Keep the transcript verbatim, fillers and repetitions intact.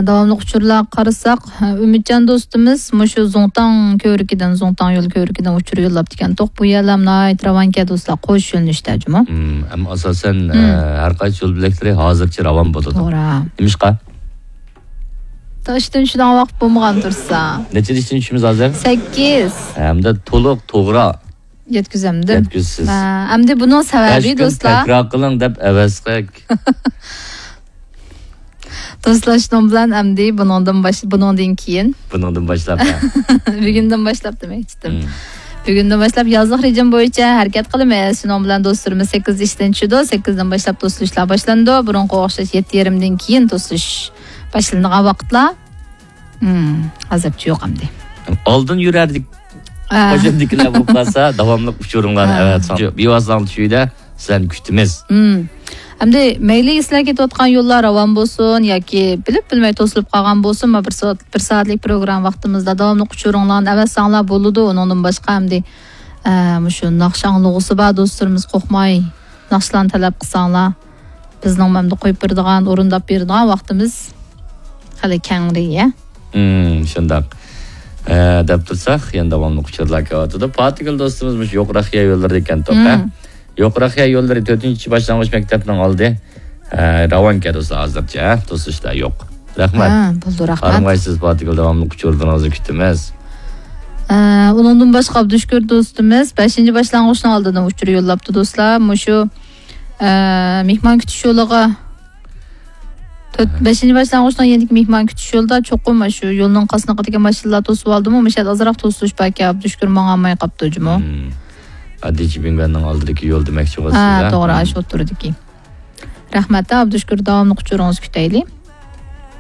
داۋاملىق ئۇچۇرلارغا قارىساق، ئۈمىدجان دوستىمىز مۇشۇ زۇڭتاڭ كۆۋرۈكىدىن، زۇڭتاڭ يول كۆۋرۈكىدىن ئۇچۇر يوللاپتىكەن. توق، بۇ يەرلەر ناھايىتى راۋانكەن دوستلار، قوش يۆنىلىشتە جۇمۇ. مم، ئەمما ئاساسەن، مم. ئە، ھەر قايسى يول بۆلەكلىرى ھازىرچە راۋان بولىدۇ. توغرا. نېمىشقا؟ تا ئىشتىن چۈشىدىغان ۋاقىت بولمىغان تۇرسا. نەچچىدە ئىشتىن چۈشىمىز ھازىر؟ سەككىز. ھەمدە تولۇق، توغرا. يەتكۈزەمدىم. يەتكۈزىسىز. ھە، ئەمدى بۇنىڭ سەۋەبى، بەش كۈن دوستلار. تەكرار قىلىڭ دەپ ئەۋەز قىل. دوستلار، شۇنىڭ بىلەن ئەمدى بۇنىڭدىن باش-، بۇنىڭدىن كېيىن. بۇنىڭدىن باشلاپ، ھە. بۈگۈندىن باشلاپ دېمەكچىدىم. مم. بۈگۈندىن باشلاپ يازلىق رېجىم بويىچە ھەرىكەت قىلىمىز. شۇنىڭ بىلەن دوستلىرىمىز سەككىز ئىشتىن چۈشىدۇ. سەككىزدىن باشلاپ توسۇلۇشلار باشلىنىدۇ. بۇرۇنقىغا ئوخشاش يەتتە يېرىمدىن كېيىن توسۇلۇش باشلىنىدىغان ۋاقىتلار. مم، ھازىرچە يوق ئەمدى. ئالدىن يۈرەردىك. ئا. قوشۇندىكىلەر بولۇپ قالسا، داۋاملىق ئۇچۇرۇڭلارنى ئا. ئەۋەتسەڭ. شۇ بىۋاسىتە تۈشۈيدە سىلەرنى كۈتىمىز. مم. ئەمدى مەيلى سىلەر كېتىۋاتقان يوللار راۋان بولسۇن ياكى بىلىپ بىلمەي توسۇلۇپ قالغان بولسۇن، ما بىر سائەت، بىر سائەتلىك پروگرامما ۋاقتىمىزدا داۋاملىق ئۇچۇرۇڭلارنى ئەۋەتسەڭلار بولىدۇ. ئۇنىڭدىن باشقا ئەمدى، ئە، مۇشۇ ناخشا ئاڭلىغۇسى بار دوستلىرىمىز قورقماي ناخشىلارنى تەلەپ قىلساڭلار. بىزنىڭ مەمدە قويۇپ بېرىدىغان، ئورۇنداپ بېرىدىغان ۋاقتىمىز خېلى كەڭرى، يە. مم، شۇنداق. ئە، دەپ تۇرساق، يەنە داۋاملىق ئۇچۇرلار كېلىۋاتىدۇ. پاتىگۈل دوستىمىز مۇشۇ يوقراق يەر يوللىرىدا ئىكەن، توقا. مم. يوقراق يەر يوللىرى تۆتىنچى باشلانغۇچ مەكتەپنىڭ ئالدى. ئە، راۋانكەن دوستلار ھازىرچە، ھە؟ توسۇشتا يوق. رەھمەت. ھە، بولدى، رەھمەت. ئارىمايسىز، پاتىگۈل، داۋاملىق ئۇچۇرلىرىڭىزنى كۈتىمىز. ئە، ئۇنىڭدىن باشقا ئابدۇشۈكۈر دوستىمىز بەشىنچى باشلانغۇچنىڭ ئالدىدىن ئۇچۇر يوللاپتۇ، دوستلار. مۇشۇ ئە، مېھمان كۈتۈش يولىغا تۆت، ھە. بەشىنچى باشلانغۇچنىڭ يېنىدىكى مېھمان كۈتۈش يولىدا چوقۇم شۇ يولنىڭ قاسنىقىدىكى ماشىنىلار توسۇۋالدىمۇ، مۇشۇ يەردە ئازراق توسۇلۇش باركەن، ئابدۇشۈكۈر ماڭالماي قاپتۇ جۇمۇ. مم. ئادىچ بىڭگەننىڭ ئالدىدىكى يول دېمەكچى بولىسىز، ھە، ھە؟ توغرا، مم. ئاشۇ ئوتتۇرىدىكى. رەھمەت، ئابدۇشۈكۈر، داۋاملىق ئۇچۇرىڭىزنى كۈتەيلى.